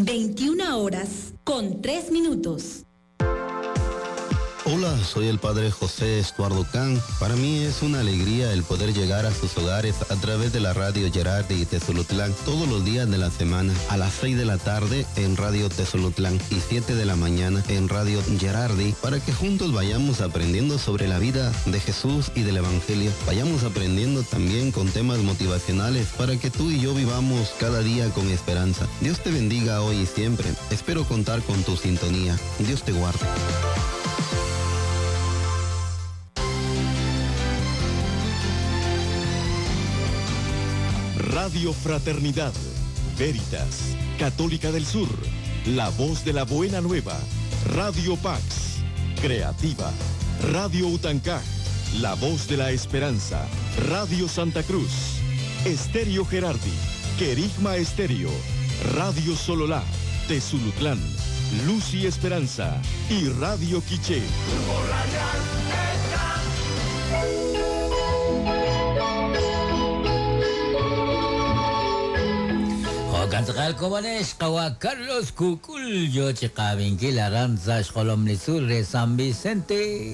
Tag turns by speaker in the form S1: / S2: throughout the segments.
S1: 21 horas con 3 minutos.
S2: Hola, soy el padre José Estuardo Can. Para mí es una alegría el poder llegar a sus hogares a través de la radio Gerardi y Tezulutlán todos los días de la semana a las 6 de la tarde en Radio Tezulutlán y 7 de la mañana en Radio Gerardi para que juntos vayamos aprendiendo sobre la vida de Jesús y del Evangelio. Vayamos aprendiendo también con temas motivacionales para que tú y yo vivamos cada día con esperanza. Dios te bendiga hoy y siempre. Espero contar con tu sintonía. Dios te guarde.
S3: Radio Fraternidad, Veritas, Católica del Sur, La Voz de la Buena Nueva, Radio Pax, Creativa, Radio Utancaj, La Voz de la Esperanza, Radio Santa Cruz, Estéreo Gerardi, Querigma Estéreo, Radio Sololá, Tezulutlán, Luz y Esperanza y Radio Quiché.
S4: Jo'kan tz'aqal komonex qawa' Carlos Kukul yo chi qaabinkil aran sa' xjolom li tzuul re San Vicente.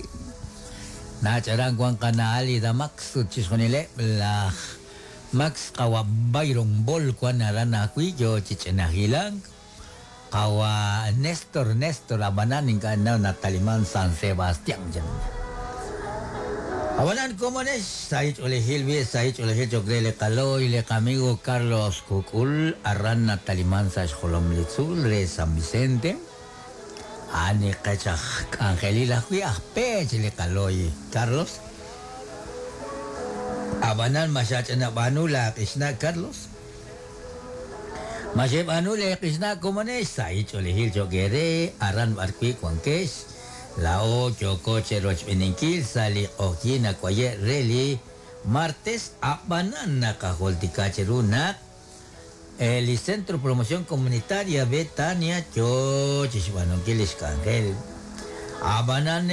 S4: Nach' aran wan qana' Alida Max ut chixjunileb' laj Max qawa' Byron Bol wan aran ajwi' yo chi ch'ina hilank. Qawa' Nestor Nestor ab'anan ink'a' ninnaw nataliman San Sebastián chan. Ab'anan komonex sahil ch'oolejil b'i' sahil ch'oolejil cho'q re li qalooy li qamigo Carlos Kukul aran nataliman sa' xjolom li tzuul re San Vicente. A'an li qech aj k'anjelil ajwi' aj peech li qalooy Carlos. Ab'anan ma xach'inab'aanu laaq'ixna' Carlos? Ma xeb'aanu leeq'ixna' komonex sahil ch'oolejil cho'q eere aran b'arwi' wankex? Laa'o yooko cherochb'eeninkil sa' li q'oqyink nawaye' re li martes, a'b'anan naqajultika cheru naq li Centro Promoción Comunitaria Betania yoo chixb'aanunkil lix k'anjel. A'b'anan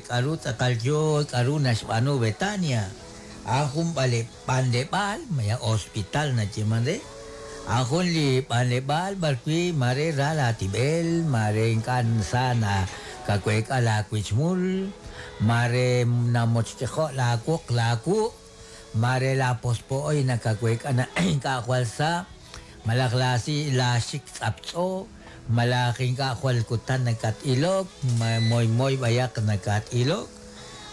S4: k'a'ru tz'aqal yoo k'a'ru naxb'aanu Betania? A'an jun b'anleb'aal, malaj hospital nayeeman re. A'an jun li b'anleb'aal b'arwi' maare ra laatib'el, maare ink'a' sa nakaweek'a laawichmul, maare namochkejo' laawoq laawu', maare laapospo'oy nakaweek'a naq ink'a' jwal sa, malaj laasi laaxik tz'aptz'o, malaj ink'a' jwal kutan nakat-ilok, moymoy b'ayaq nakat-ilok.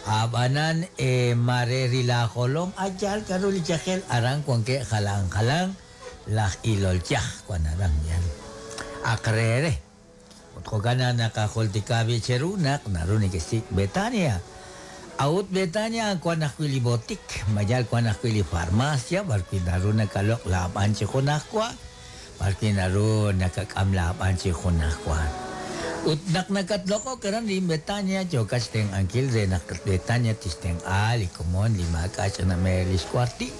S4: Ab'anan maare ri laajolom a yaal k'aru li yajel aran wankeb' jalan jalan laj ilol yaj wan aran yal aq re re. Ut jo'kan naq naqajultika b'i' cheru naq naru nekesik' Betania. A'ut Betania wan ajwi' li botik, ma yal wan ajwi' li farmacia b'arwi' naru nakaloq' laab'an chi junajwa. B'arwi' naru nakak'am laab'an chi junajwa. Ut naq nakatloq'ok aran rik'in Betania, yookat xtenq'ankil re naq Betania tixtenq'a li komon li maak'a' ch'ina meer li xwartil.